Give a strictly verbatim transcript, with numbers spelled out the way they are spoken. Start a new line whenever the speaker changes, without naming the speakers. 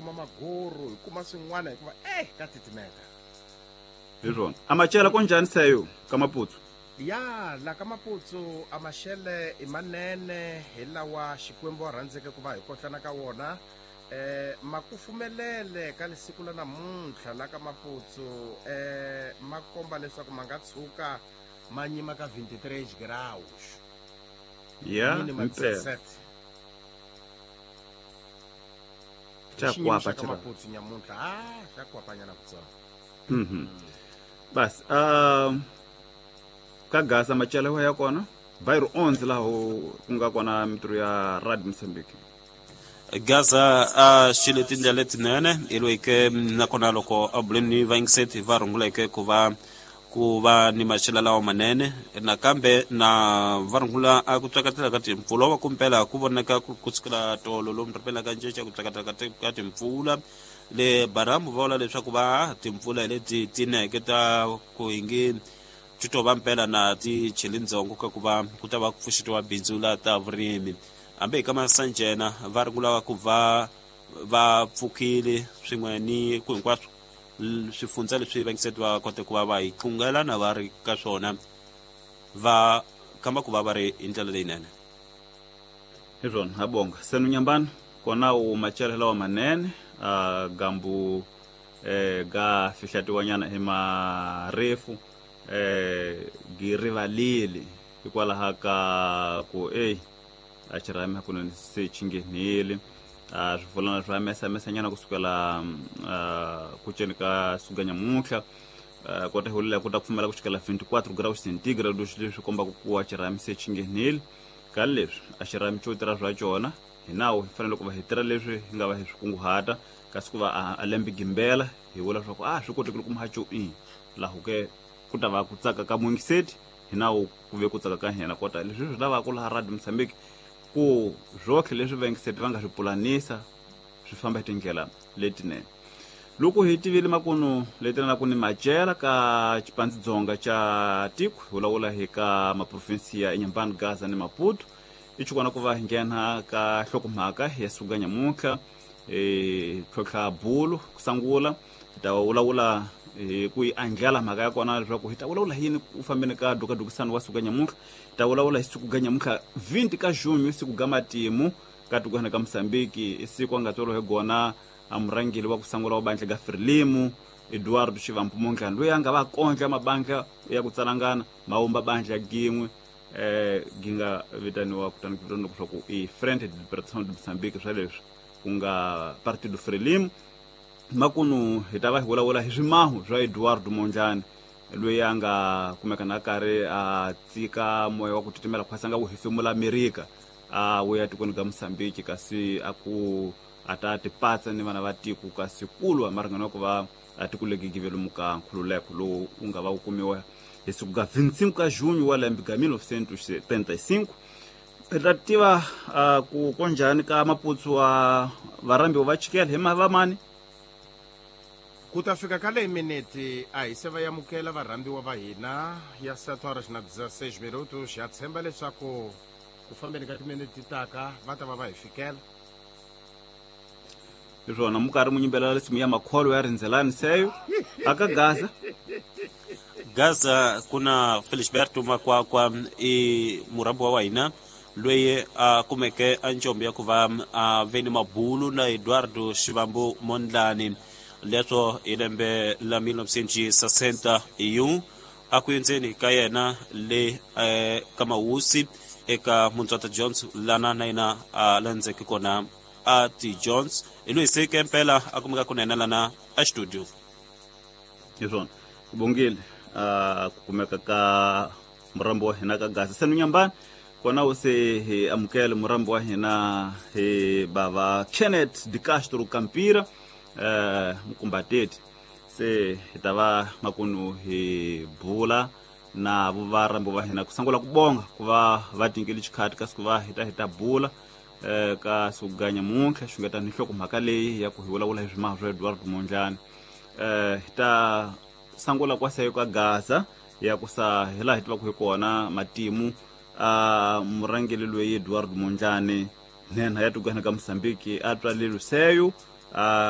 Kuma maguru hi kuma swin'wana hikuva eh ka titimeta.
Hi swona. A machela ko njhani seyo ka Maputsu?
Ya la ka Maputsu a maxele i manene hi lawa Xikwembu a rhandzeke ku va hi kotlana ka wona. Eh makufumelele ka lesiku la namuntlha la ka Maputsu eh ma komba leswaku ma nga tshuka ma nyima ka vinte e três graus.
Ya
Mínima
mpela.
dezessete.
Xa
Xiyimo
kwapa
xa ka
xira.
Maputsu nyamuntlha ah xa kwapanyana kutsongo.
Mhm. Bas, uh, ka Gaza machela wa ya kona bairro onze laha ku nga kona mintirho ya Radio Mozambique.
Gaza a xile tindlela letinene ilweke nakona loko a buleni ni vayingiseti va runguleke ku va ku va ni maxelo lawa manene nakambe na va rungula a ku tsakatela ka timpfula wa kumpela ku vonaka ku kusukela tolo lomu ripela ka nceca ku tsakatela ka ti- ka timpfula le baramu va vula leswaku va timpfula hi leti tineke ta ku hingi ti to va mpela na ti cheli ndzongo ka ku va ku ta va ku pfuxetiwa bindzu la ta vurimi hambi hi ka masanjena va rungula ku va va pfukile swin'we ni ku hinkwaswo l- swifundza leswi vayingiseti va kote ku va va hi tlungela na va ri ka swona va kamba ku va va ri hi ndlela leyinene.
Hi swona, ha bonga senu nyambani kona u machela lawa manene uh, gambu eh, ga fihlatiwanyana hi marefu eh, gi rivalile hikwalaho ka ku ey a xirhami hakunene se xi nghenile. uh, swifulana swa mesamesanyana kusukela uh, ku ceni ka suka nyamuntlha uh, kota hi hulela ku ta pfumela ku xikela vinte e quatro graus centigrade leswi kombaka ku a xirhami se xi nghenile ka leswi a xirhami xo tirha swa cona. Hi nawu hi fanele ku va hi tirha leswi hi nga va hi swi kunguhata kasi ku va a, a lembe gimbela hi vula leswaku a swi kotekile ku muhaxo i laho ke ku ta va ku tsaka ka muyingiseti hi nawu ku ve ku tsaka ka hina kota leswi swi lavaka laha Radio Mozambique ku swotlhe leswi vayingiseti va nga swi pulanisa swi famba hi tindlela letinene. Loko hi tivile makunu leti ku ni macela ka xipandzidzonga xa tiko hi vulavula hi ka maprovinsi ya Inhambane, Gaza ni Maputo i xikona ku va hi nghena ka nhlokomhaka ya suka nyamuntlha hi tlhontlha bulu ku sungula hi ta vulavula hi ku yi andlala mhaka ya kona leswaku hi ta vulavula hi yini ku fambeni ka dukadukisano wa suka nyamuntlha. Hi ta vulavula hi siku ga nyamuntlha vinte ka junho, siku ga matimu ka tikweni ka Mozambique, i siku a nga tswariwa hi gona a murhangeri wa ku sungula wa bandla ga Frelimo, Eduardo Shivambu Mondlane, loyi a nga va kondla mabandla ya ku tsalangana ma vumba bandla gin'we eh gi nga vitaniwa kutani ku vitaniwa leswaku i Frente de Libertação de Moçambique, swa leswi ku nga Partido Frelimo. Makunu hi ta va hi vulavula hi swimahu swa Eduardo Mondlane loyi a nga kumeka na karhi a tsika moya wa ku titimela khwasa nga wu hefemula Amerika a wu ya tikweni ka Mozambique kasi a ku a ta tipatsa ni vana va tiko kasi kulwa maringano ya ku va a tiko legi givelomu ka nkhululeko lowu wu nga va wu kumiwa hi siku ka vinte e cinco ka junho wa lembe ka mil novecentos e setenta e cinco. Hi ta tiva uh, ku konjhani ka Maputsu wa varhambiwa va chikela hi mavamani.
Ku ta fika ka leyi minete a hi se va yamukela varhambiwa va hina ya sete horas na dezesseis minutos. Ya tshemba leswaku ku fambeni ka timinete ti taka va ta va va hi fikela.
Hi swona, mu karhi mu yimbelela risimu ya makholo ya rindzelani seyo aka Gaza.
Gaza kuna Felisberto Makwakwa i murhambiwa wa hina loyi a kumeke a njombo ya ku va a ve ni mabulu na Eduardo Shivambu Mondlane leswo hi lembe la mil novecentos e sessenta e um a ku endzeni ka yena le eh, ka Mawusi eka Muntswata Jones lana na yena a landzeke kona a t Jones hi loyi se ke mpela a kumeka kunene lana a studio.
Hi swona, ku bongile uh, ku kumeka ka murambi wa hina ka Gaza senu nyambani kona wu se hi amukele murambi wa hina hi bava Kenneth de Castro Campira uh, mukumbateti se hi ta va makunu hi bula na vo varambi va hina ku sungula ku bonga ku va va tinkele xikhati kasi ku va hi ta hi ta bula eh, ka suganya muntlha xungeta ni nhlokomhaka leyi ya ku hi vulavula hi swimaha swa Eduardo Mondlane. eh hi ta sungula kwaseyo ka Gaza ya ku sa hi laha hi tivaka hi kona matimu a murhangeri loyi Eduardo Mondlane nhenha ya tikweni ka Mozambique a tswalile seyo a.